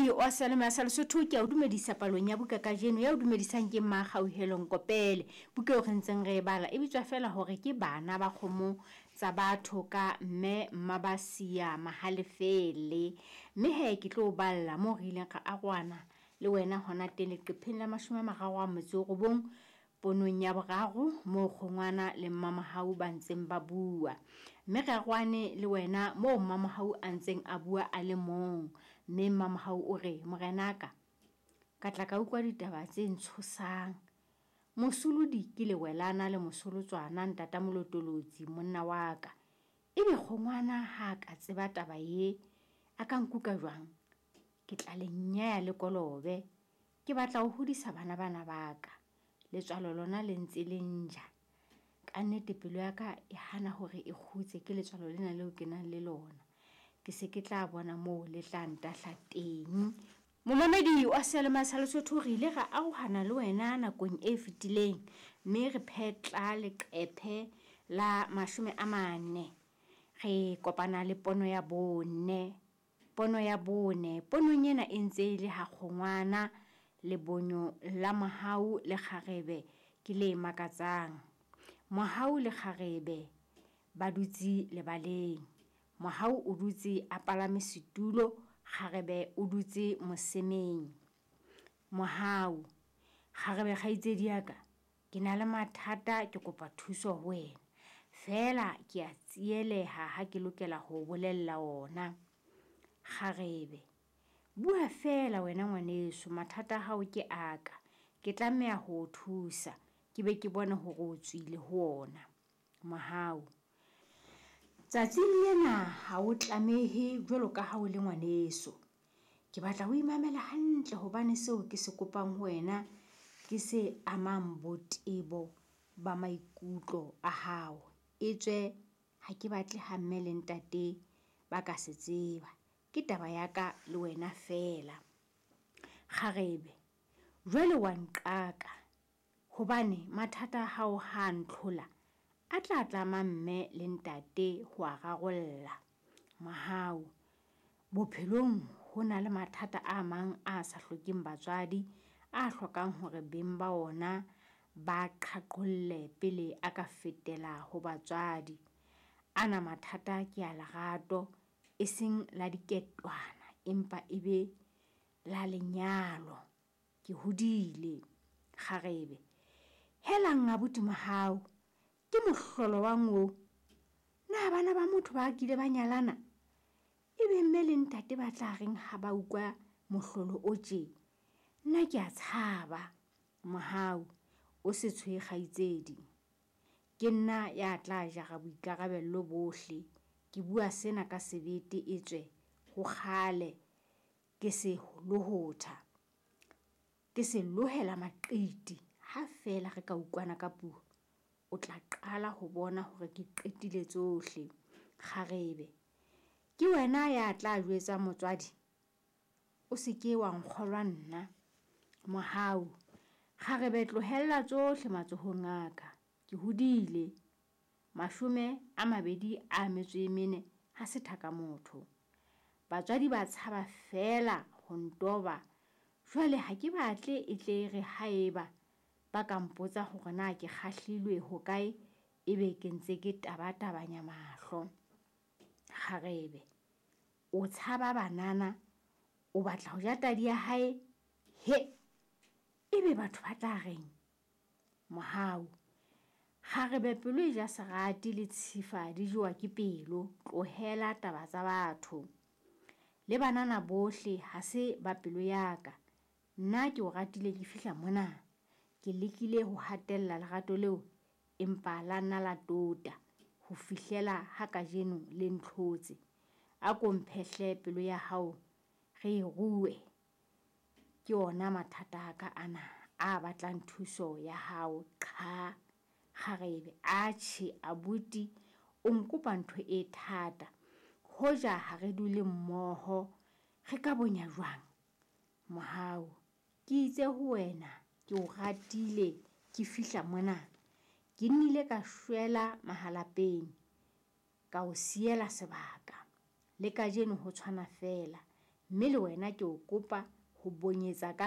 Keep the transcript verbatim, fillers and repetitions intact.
Momamedi wa Salema sa Lesotho, ke a o dumedisa palong ya buka kajeno. Ya o dumedisang ke Mmakgauhelo Nkopele. Buka eo re ntseng re e bala e bitswa fela hore ke Bana ba Kgomo Tsa Batho ka Mme Mmabasia Mahalefele. Mme he ke tlo o balla moo re ileng ra arohana le wena hona teng leqepheng la mashome a mararo a motso o robong ponong ya boraro moo Kgongwana le Mmamohau ba ntseng ba bua. Mme re arohane le wena moo Mmamohau a ntseng a bua a le mong. Mme Mmamohau o re, morenaka, ka tla ka utlwa ditaba tse ntshosang. Mosolodi ke lewelana le mosolotswana ntata molotolotsi monna wa ka. Ebe Kgongwana ha ka tseba taba ye, a ka nkuka jwang? Ke tla le nyeya le kolobe. Ke batla ho hodisa bana bana ba ka. Letswalo lona le ntse le nja. Ka nnete pelo ya ka e hana hore e kgutse ke letswalo lena leo ke nang le lona. Ke se ke tla bona moo le tla ntahla teng. Momamedi wa Seyalemoya sa Lesotho, re ile ra arohana le wena nakong e fetileng mme re phetla leqephe la mashome a mane. Re kopana le pono ya bone. Pono ya bone. Ponong ena e ntse e le ha Kgongwana lebonyo la Mohau le kgarebe ke le makatsang. Mohau le kgarebe ba dutse lebaleng. Mohau o dutse a palame setulo, kgarebe o dutse mosemeng. Mohau, kgarebe kgaitsedi ya ka, ke na le mathata, ke kopa thuso ho wena. Feela ke a tsieleha ha ke lokela ho bolella ona. Kgarebe, bua feela wena ngwaneso, mathata a hao ke a ka. Ke tlameha ho o thusa, ke be ke bone hore o tswile ho ona. Mohau, tsatsing lena ha o tlamehe jwalo ka ha o le ngwaneso. Ke batla o imamele hantle hobane seo ke se kopang ho wena ke se amang botebo ba maikutlo a hao. Etswe ha ke batle ha mme le ntate ba ka se tseba. Ke taba ya ka le wena feela. Kgarebe, jwale wa nqaka hobane mathata a hao ha ntlhola a tla tlama mme le ntate ho a rarolla. Mohau, bophelong ho na le mathata a mang a sa hlokeng batswadi, a hlokang hore beng ba ona ba qhaqholle pele a ka fetela ho batswadi. Ana mathata ke a lerato, e seng la diketwana empa e be la lenyalo. Ke hodile. Kgarebe, helang abuti Mohau, ke mohlolo wang oo. Na bana ba motho ba kile ba nyalana? Ebe mme le ntate ba tla reng ha ba utlwa mohlolo o tje? Nna ke a tshaba. Mohau, o se tshohe kgaitsedi. Ke nna ya tla jara boikarabello bohle. Ke bua sena ka sebete etswe ho kgale ke se lohotha. Ke se lohela maqiti. Ha feela re ka utlwana ka puo, o tla qala ho bona hore ke qetile tsohle. Kgarebe, ke wena ya tla jwetsa motswadi? O se ke wa nkgolwa nna. Mohau, kgarebe tlohella tsohle matsohong a ka. Ke hodile. Mashome a mabedi a metso e mene ha se thaka motho. Batswadi ba tshaba feela ho ntoba. Jwale ha ke batle e tle re haeba ba ka mpotsa hore na ke kgahlilwe hokae, ebe ke ntse ke tabatabanya mahlo. Kgarebe, o tshaba banana, o batla ho ja tadi ya hae? He, ebe batho ba tla reng? Mohau, kgarebe pelo e ja serati le tshifa di jowa ke pelo. Tlohela taba tsa batho. Le banana bohle ha se ba pelo ya ka. Nna ke o ratile ke fihla mona. Ke lekile ho hatella lerato leo empa la nna la tota ho fihlela ha kajeno le ntlhotse. A ko mphehle pelo ya hao re e rue. Ke ona mathata a ka ana a batlang thuso ya hao. Qha, kgarebe, atjhe abuti o nkopa ntho e thata. Hoja ha re dule mmoho re ka bonya jwang? Mohau, ke itse ho wena ke o ratile ke fihla mona. Ke nnile ka shwela mahalapeng, ka o siela sebaka. Le kajeno ho tshwana feela. Mme le wena ke o kopa ho bonyetsa ka